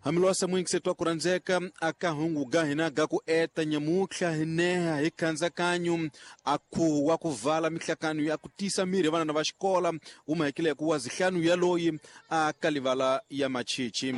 Hamilwasa mwingi twa ku rhandzeka aka hungu ga hina ga ku eta nyamutlha hi neha hi khandzakanyũ a khuhu wa ku vala mihlakano ya ku tisa mirhi ya vanana va xikola wu mahekile ku wa zihlanu ya loyi a ka livala ya machichi.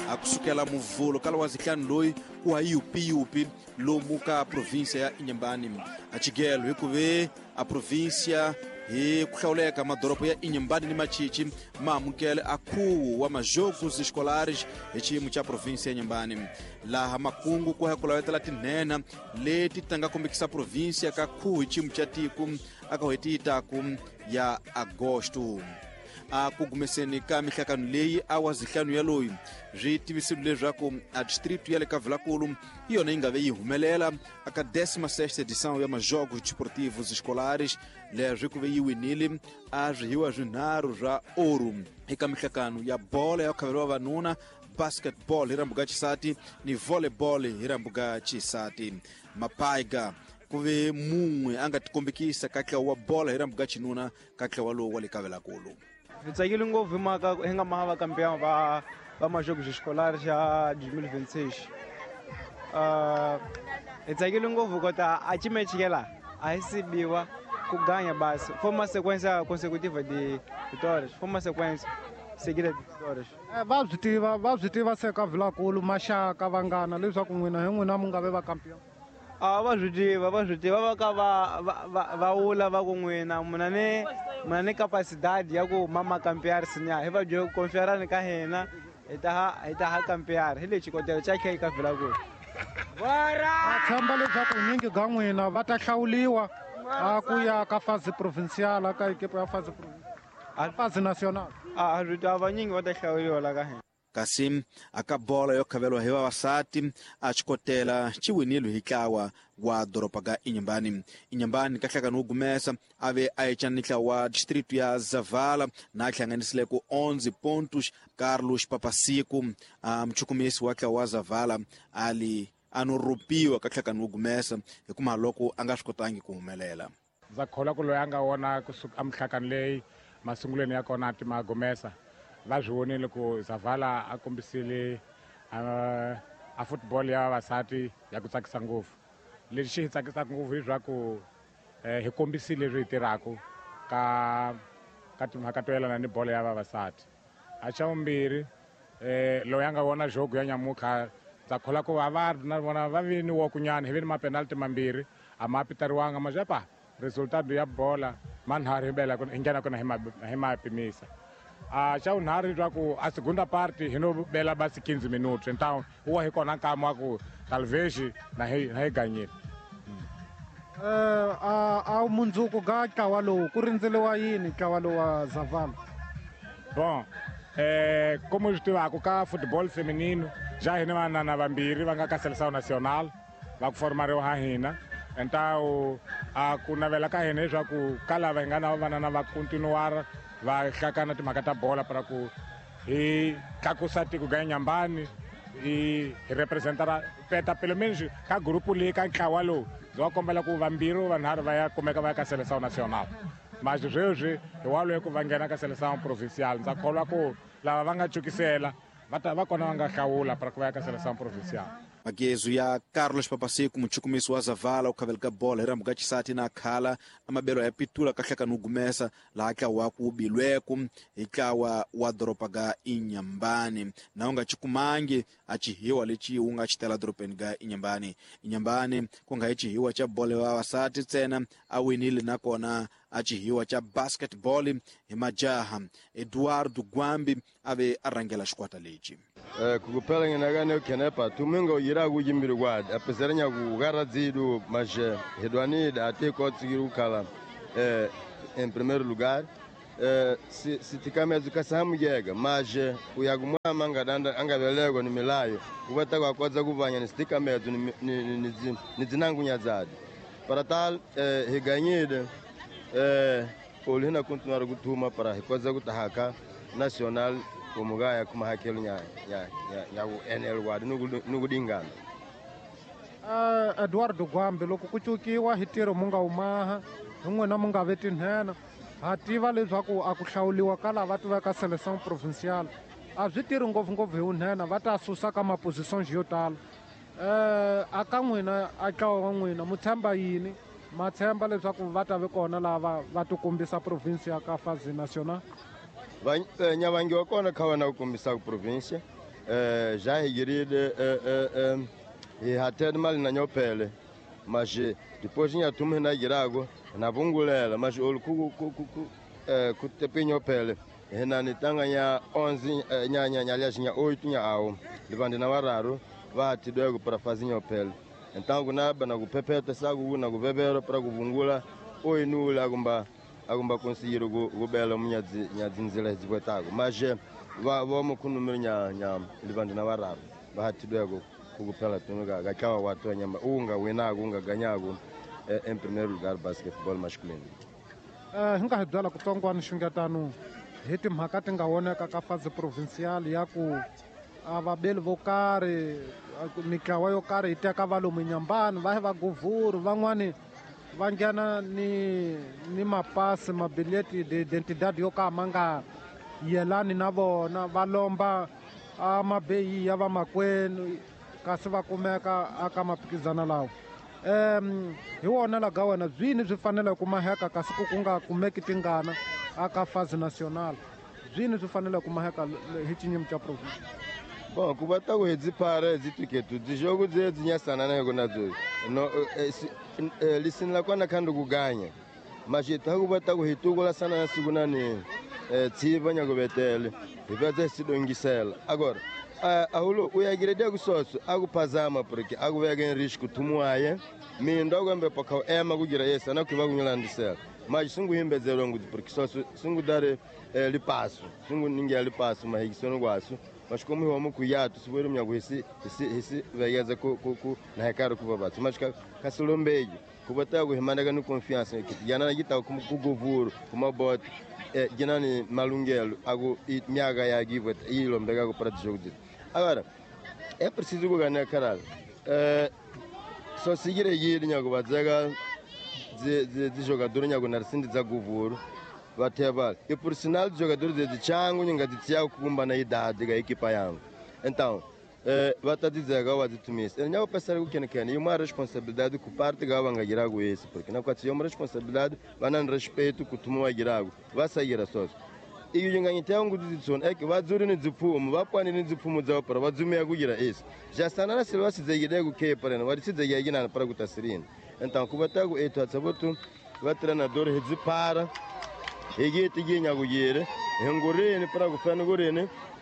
A kusukela muvulo kala wa zihlanu loyi ku ha yupiyupi lomu ka província ya Inhambane. A chigelo hi ku ve a província hi ku hlawuleka madoropo ya Inhambane ni Machichi ma amukele a khuwu wa majogos escolares hi xiyimo xa província ya Inhambane. Laha makungu ku ya ku lavetela tinhenha leti ta nga kombekisa província ka khuwu hi xiyimo xa tiko aka n'hweti yi taku ya agosto. A ku gumeseni ka mihlakano leyi a wa zihlanu ya loyi swi tivisile leswaku a distrito ya le ka Vilakulu hi yona yi nga ve yi humelela aka 16ª edição ya majogos desportivos escolares. Leswi ku ve yi winile a swihiwa swinharhu swa oru eka mihlakano ya bola ya ku khaveriwa vavanuna, basketball hi rambuka xisati ni volleyball hi rambuka xisati. Mapaiga ku ve mun'we a nga tikombekisa ka ntlawa wa bola hi rambuka xinuna ka ntlawa lowu wa le ka Vilakulu. Hi tsakile ngopfu hi mhaka hi nga maha va campeão va va majogos escolares xa 2026. Hi tsakile ngopfu kota a chimechikela a hi sibiwa ku ganya basi. Foi uma sequência consecutiva de vitórias, foi uma sequência seguida de vitórias. Va swi tiva, va swi tiva se ka Vilakulu maxaka vanghana leswaku n'wina hi n'wina mu nga ve va campeão. A va swi tiva, va swi tiva, va ka va va va va vula va ku n'wina muna ni muna ni capacidade ya ku mama campear sinya hi va byela ku confiarani ka hina hi ta ha hi ta ha campear hi lexi xikotela xa khe ka Vilakulu. Va tshemba leswaku nyingi ga n'wina va ta hlawuliwa a ku ya ka fase provincial ka ekipa ya fase provincial, fase national. A swi tiva vanyingi va ta hlawuliwa la ka hina. Kasi aka bola yo khaveliwa hi vavasati a xikotela xi winile hi ntlawa wa doroba ga Inhambane. Inhambane ka hlakano wo gumesa a ve a ecana ni ntlawa wa distrito ya Zavala na hlanganisile ku 11 pontos. Carlos Papasiku a muchukumisi wa ntlawa wa Zavala a li a no ropiwa ka hlakano wo gumesa hi kuma loko a nga swi kotangi ku humelela. Ndza kholwa ku loyi a nga wona kusuka emihlakano leyi masungulweni ya kona ti ma gumesa va swi vonile ku Zavala a kombisile a football ya vavasati ya ku tsakisa ngopfu. Lexi xi hi tsakisaka ngopfu hileswaku hi kombisile leswi hi tirhaka ka ka timhaka to yelana ni bolo ya vavasati. A xa vumbirhi loyi a nga vona jogo ya nyamutlha ndza kholwa ku va va na vona va vi ni wokunyana hi vi ni mapenalty mambirhi a ma pitariwanga ma resultado ya bola manharhu hi bela hi nghena kona hi ma pimisa. A xa vunharhu leswaku a segunda parte hi no bela basi 15 minutos, então wa hi kona nkama wa ku talvez na hi na hi ganyile. A mundzuku ga ntlawa lowu ku rindzeliwa yini ntlawa lowu wa Zavala? Bon, como swi tivaka ka football feminino ja hina vanana vambirhi va nga ka seleção nacional va ku formariwa ha hina. Então a ku navela ka hina leswaku ka lava hi nga na vanana va continuar va hlakana timhaka ta bola para ku hi tlakusa tiko ga Inhambane hi representara peta pelo menos ka grupo leyi ka ntlawa lowu ndzi va kombela ku vambirhi vanharhu va ya kumeka va ya ka seleção nacional. Mas sweswi hi wa loyi ku va nghena ka seleção provincial ndza kholwa ku lava va nga cukisela va ta va kona va nga hlawula para ku va ya ka seleção provincial. Magezu ya Carlos Papasiku muchukumisi wa Zavala u khaveleka bola hi rambuka xisati na khala amabelo ya pitula ka hlakano gumesa laha ntlawa wa ku bilweku hi ntlawa wa doroba ga Inhambane na u nga chikumangi a chihiwa lexi wu nga xitela dorobeni ga Inhambane. Inhambane ku nga hi chihiwa xa bolo ya vavasati ntsena a winile nakona a chihiwa xa basketball hi majaha. Eduardo Gwambi a ve a rhangela xikwata lexi. Kukuphela nginakane khenepa tumingo yira kuyimbiri kwadi apesera nyaku karadzidu mas hedwanida ate kotsikiri kukhala em primeiro lugar sitikamedzo kasahamuyega mas uyakumwama angadanda angavelekwa ni milayo kuvata kwakodza kuvanya ni sitikamedzo ni dzinangunya dzadi para tal higanyide olu hina continuar kutuma para hikodza kutahaka national kumugaya kumahakelo nya nya nya ku NL wadi nukudingana. Eduardo Gwambi loko ku cukiwa hi ntirho mu nga wu maha hi n'wina mu nga ve tinhena Ha tiva leswaku a ku hlawuliwa ka lava tiveka seleção provincial a swi tirhi ngopfungopfu hi vunhena, va ta susa ka mapositions yo tala. A ka n'wina, a ntlawa wa n'wina, mu tshemba yini? Ma tshemba leswaku va ta vi kona lava va tikombisa province ya ka phase national? Nyavangi wa kona kha wena ku kombisa province já higirile hi hatele mali na nyophele, mas depois nyathumu hina girago na vungulela, mas olu ku tepe nyophele hina ni tanga nya 11 nya nya nya nya 8 nya awo livandi na vararu va tidwego para fazer nyophele. Então kunaba na kuphephetha saku na kuvevera para kuvungula oyinula akumba conseguir kubela munyadzi nyadzinzela dzipwetako, mas va vomo khunumiri nya nya livandi na vararu va hatidwego kukuphela tuno ka tlawa wa twa nyama unga winako unga ganyako em primeiro lugar basketball masculino. Hi nga hi byela kutsongwana xungetano hi timhaka ti nga voneka ka phase provincial ya ku a vabeli vo karhi, mitlawa yo karhi yi teka va lomu Nyambani va va guvhuru, van'wani va nghena ni mapasi, mabileti de identidade yo ka ma nga yelani na vona, va lomba a mabeyi ya vamakwenu kasi va kumeka aka maphikizana lawa. Hi wona laga wena byini byi fanele ku maheka kasi ku nga kumeki tingana aka phase national, byini byi fanele ku maheka hi xinyimi xa province? Bom, ku va ta ku hedzi phara hedzi tiketu dzijogo dzedzi nyasana na yona dzo no lisinla kona khando kuganya mashita ku va ta ku hitukula sana na siku nani tsiva nya ku betele hi va tse sidongisela. Agora ahulo uyagirede kusoso akuphazama porque akuveka em risco tumuaye mindo akwembe pakha ema kugira yesa na kuva kunyilandisela mas sunguhimbedzelo ngudzi porque soso sungudare lipaso sunguningia lipaso mahikisono kwaso mas como eu amo cuiato se for minha coisa esse vegeza ku na recaro ku babatsu mas ka solombejo ku bata ku himanda no confiança que yana na gita ku govuro ku mabote ginani malungelo ago miaga ya give ilombega ku para jogo. Agora é preciso ganhar caralho só seguir aí nyago bazaga de jogador nyago narsindi za govuro bateba e por sinal de jogador de chango ninga de tiago kumba na idade da equipa yango. Então bata dizer gawa de tumis eu não pensar o que que e uma responsabilidade que parte gawa ngagirago esse porque não quatro uma responsabilidade vai não respeito que tu girago vai sair a sós e o nganyi tem um de é que vai zuri ni dzipfumo va pwani ni dzipfumo dza para va dzumia kugira esse já está na silva se zegide ku ke para não vai se zegide na para kutasirini. Então kubatago eto atsabotu va treinador hedzipara hegeti ginyagugire hengureni para kufana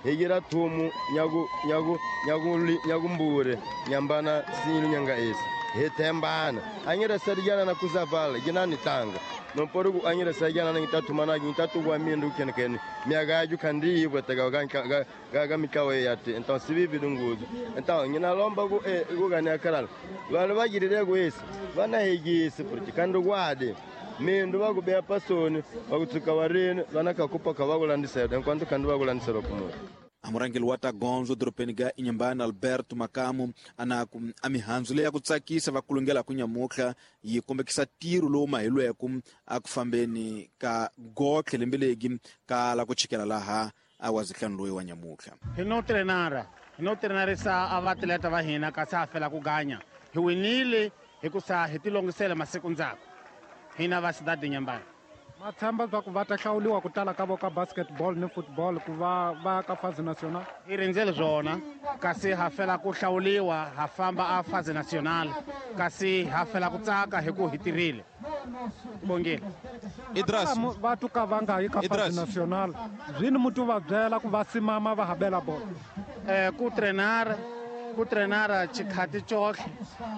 hegira thumu nyagu nyagu nyagu nyagumbure nyambana sinyu nyanga esi hetembana anyira sarigana na kuzavala ginani tanga no porugu anyira sarigana na ngitatumana ngitatu mindu kenkene miagaju kandi ibwetega ga mikawe yate. Então sibibi dunguzo então ngina lomba ku kugana karala vanhu bagirire ku esi vana hegisi porque kandi kwade mindu vakubeya pasoni vakutsuka varini vanakakupa kavakulandisela enquanto kandi vakulandisela kumura. Amurangeli wa tagonzo doropeni ga Inhambane Alberto Makamu anaku a mihandzu leyi ya ku tsakisa va kulungela ku nyamutlha yi kombekisa tiro lowu mahilweko a ku fambeni ka gotlhe lembe legi ka la ku chikela laha a wa zihlanu loyi wa nyamutlha. Hi no trenara hi no trenarisa a vaatleta va hina kasi ha fela ku ganya hi winile hikusa hi tilongisela masiku ndzhaku hina va Cidade Inhambane. Ma tshemba swa ku va ta hlawuliwa ku tala ka vo ka basketball ni football ku va va ka phase national? Hi rindzele swona kasi ha fela ku hlawuliwa ha famba a phase national kasi ha fela ku tsaka hi ku hi tirhile. Bongile. Idras va tuka va nga yi ka phase national zwini mutu va byela ku va simama va habela bolo ku trenara chikhati chohle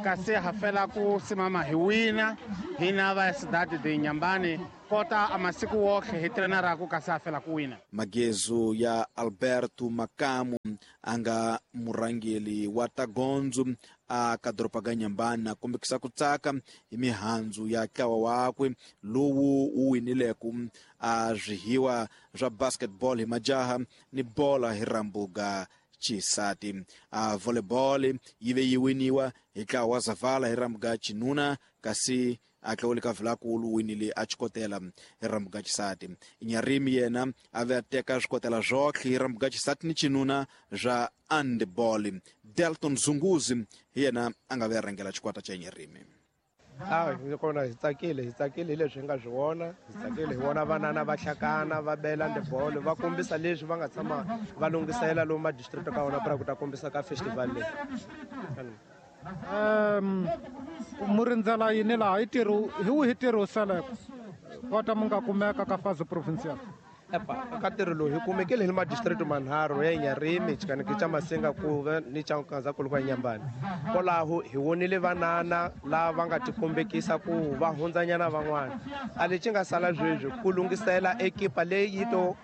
kasi ha fela ku simama hi wina hina va Cidade de Inhambane kota a masiku wohle hi trenara ku kasi ha fela ku wina. Magezo ya Alberto Makamu anga murangeli wa tagonzo a ka doroba ga Inhambane kombekisa ku tsaka hi mihandzu ya ntlawa wakwe lowu wu winileko a swihiwa swa basketball hi majaha ni bola hi rambuga chisati. A volleyball yi ve yi winiwa hi ntlawa wa Zavala hi rambuga Chinuna kasi A tlawule ka Vilakulu winile a xikotela hi rambuka xisati. Nyarimi yena a ve a teka swikotela swotlhe hi rambuka xisati ni xinuna swa handball. Delton Zunguzi hi yena a nga ve a rhangela xikwata xa Nyarimi. A kona hi tsakile, hi tsakile hi leswi hi nga swi vona, hi tsakile hi vona vanana va hlakana va bela handball, va kombisa leswi va nga tshama va lunghisela lomu madistrict ka wona pra ku ta kombisa ka festival leyi. Mu rindzela yini laha? I ntirho hi wihi ntirho wu saleke kota mu nga kumeka ka fase provincial? Epa, ka ntirho lowu hi kumekile hi le madistrict manharhu ya Nyarimi, Xikaneke xa Masinga kuve ni xa Nkanzankulu kwa Nyambani. Kwalaho hi vonile vanana lava nga tikombekisa ku va hundzanyana van'wana. A lexi nga sala sweswi ku lunghisela ekipa leyi yi to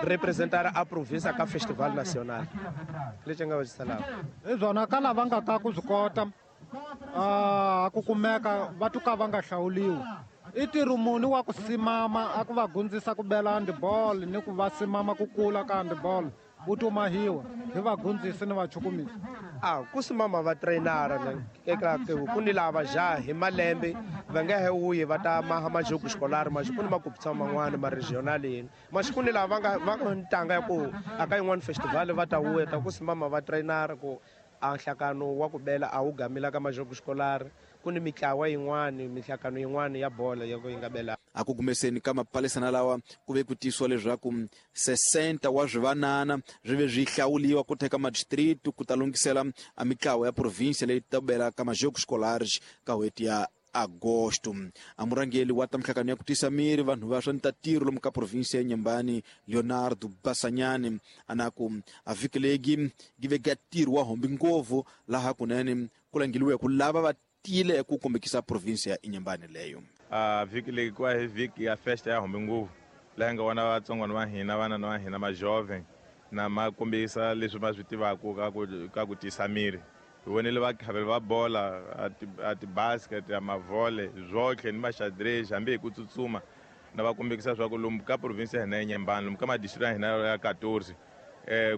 representara a province ka festival national. Lexi nga va xi salaka. Hi byona ka lava nga ta ku swi kota ku kumeka va tuka va nga hlawuliwi. I ntirho muni wa ku simama a ku va gundzisa ku bela handball ni ku va simama ku kula ka handball wu tomahiwa hi vagundzisi ni vachukumisi? A ku simama va trainara eka ku ni lava jaha hi malembe va nga he wuyi va ta maha majogo xikolari maxi ku ni makupisa man'wana ma regional yini maxi ku ni lava va nga ntanga ya ku aka yin'wana festival va ta wuya ta ku simama va trainara ku a nhlakano wa ku bela a wu gamila ka majogo xikolari. Ku ni mitlawa yin'wani, mihlakano yin'wani ya bolo ya ku yi nga bela. A ku kumeseni ka mapalisana lawa ku ve ku tisiwa leswaku 60 wa swivanana swi ve swi hlawuliwa ku teka madistrict ku ta lunghisela a mitlawa ya province leyi ta bela ka majogo xikolari ka n'hweti ya Agosto. A murhangeri wa ta mihlangano ya ku tisa miri vanhu va swa ntatiro lomu ka province ya Nyambani Leonardo Basanyane a na ku a vhiki legi gi ve ga ntirho wa hombi ngopfu laha kunene ku langiliwe ku lava va tile ku kombekisa province ya Inhambane leyo. A vhiki leyi ku va hi vhiki ya festa ya hombi ngopfu laha nga vona vatsongwana va hina, vana va hina ma jovem na ma kombisa leswi va swi tivaka ka ku tisa miri. Hi vonile vakhaveli va bola, a ti-basket, a mavhole, zwotlhe ni maxadrez, hambi hi ku tsutsuma na va kombekisa swa ku lomu ka province ya hina ya Inhambane, lomu ka madistrict ya hina ya 14,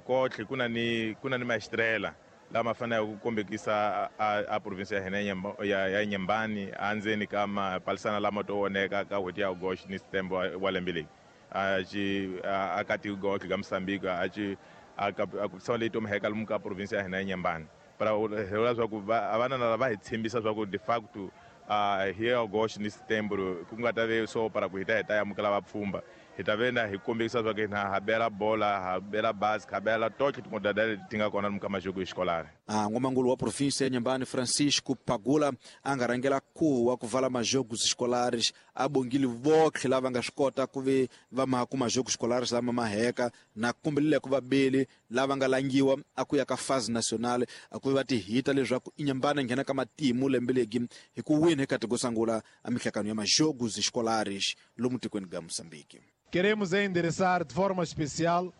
kotlhe ku na ni maestrela lama faneleke ku kombekisa a province ya hina ya Inhambane endzeni ka mapalisana lama to voneka ka n'hweti ya August ni September wa lembe leyi. A ci a ka tiko ka Mozambique, a ci a ka a ku leyi to mheka lomu ka province ya hina ya Inhambane. Para hi vula swa ku a vanana lava hi tshembisa swa ku de facto hi August ni September ku nga ta ve so para ku hi ta hi ta amukela vapfhumba, hi ta ve na hi kombekisa swa ku hina ha bela bola, ha bela basket, ha bela totlhe timodalidade leti ti nga kona lomu ka majoko xikolari. N'wamangulu wa province ya Inhambane Francisco Pagula a nga rhangela khuvo wa ku vala majoko xikolaris, a bongile votlhe lava nga swi kota ku ve va maha ku majoko xikolaris lama ma heka na kombelile ku vabeli lava nga langiwa a ku ya ka phase nationale a ku va ti hita leswaku Inhambane nghena ka matimu lembe legi hi ku wina eka tiko sangula a mihlakano ya majoko xikolaris lomu tikweni ga Mozambique. Queremos endereçar de forma especial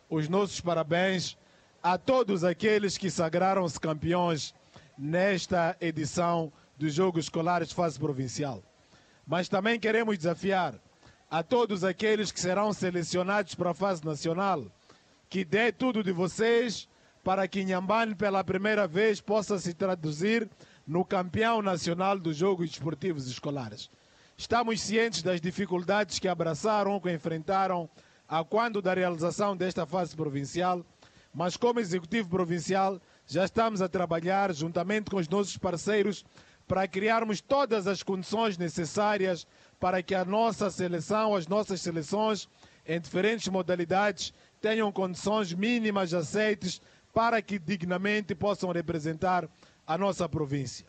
os nossos parabéns a todos aqueles que sagraram-se campeões nesta edição dos Jogos Escolares fase provincial. Mas também queremos desafiar a todos aqueles que serão selecionados para a fase nacional, que dê tudo de vocês para que Inhambane pela primeira vez possa se traduzir no campeão nacional dos Jogos Desportivos Escolares. Estamos cientes das dificuldades que abraçaram, que enfrentaram a quando da realização desta fase provincial, mas como Executivo Provincial já estamos a trabalhar juntamente com os nossos parceiros para criarmos todas as condições necessárias para que a nossa seleção, as nossas seleções em diferentes modalidades tenham condições mínimas aceites para que dignamente possam representar a nossa província.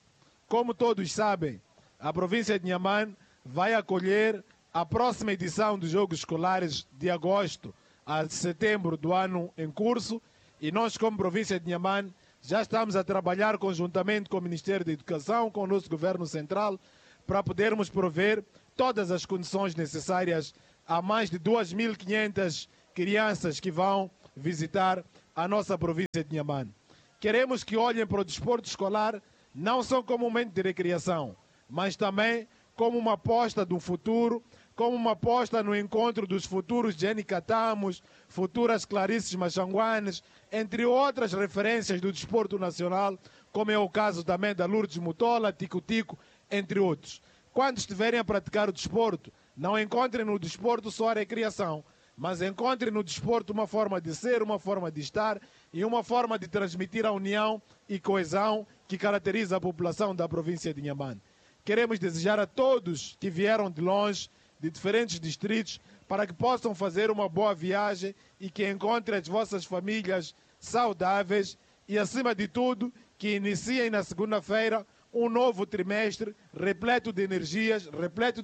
Como todos sabem, a província de Inhambane vai acolher a próxima edição dos Jogos Escolares de agosto a setembro do ano em curso, e nós, como província de Inhambane, já estamos a trabalhar conjuntamente com o Ministério da Educação, com o nosso Governo Central, para podermos prover todas as condições necessárias a mais de 2.500 crianças que vão visitar a nossa província de Inhambane. Queremos que olhem para o desporto escolar não só como um momento de recreação, mas também como uma aposta do futuro, como uma aposta no encontro dos futuros Jenny Catamos, futuras Clarices Machanguanes, entre outras referências do desporto nacional, como é o caso também da Lourdes Mutola, Tico Tico, entre outros. Quando estiverem a praticar o desporto, não encontrem no desporto só a recreação, mas encontrem no desporto uma forma de ser, uma forma de estar e uma forma de transmitir a união e coesão que caracteriza a população da província de Inhambane. Queremos desejar a todos que vieram de longe, de diferentes distritos, para que possam fazer uma boa viagem e que encontrem as vossas famílias saudáveis e, acima de tudo, que iniciem na segunda-feira um novo trimestre repleto de energias, repleto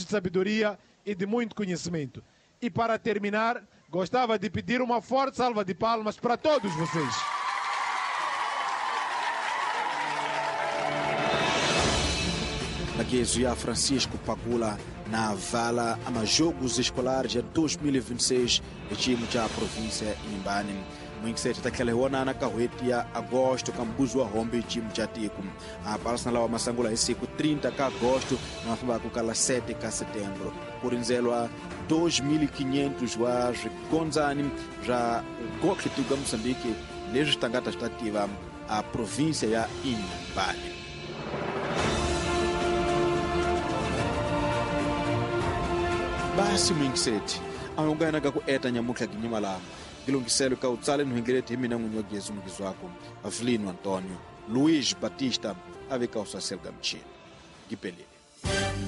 de sabedoria e de muito conhecimento. E para terminar, gostava de pedir uma forte salva de palmas para todos vocês. Laguezo ya Francisco Pagula na vala ama Jogos Escolares ya 2026 ecimo ca província ya Inhambane. Mwingisete tatlhela hi wonana ka n'hweti ya agosto ka mbuzi wa hombe ecimo ca tiko. A lawa masangula hi siku 30 ka agosto na mafambaka ka la 7 ka setembro. Ku rindzelwa 2500 wa swigondzani swa gotlhe tiko ya Moçambique leswi swi tangata swi ta tiva a província ya Inhambane. Basi mwingiseti ahungana ka ku eta nyamutlha ginyima lama gilungiselo ka utsale nhwengeleti hi mina n'winyi wa Gezu mukizwako Avelino Antonio Luiz Batista a veka usaselo ka michini gipeleni.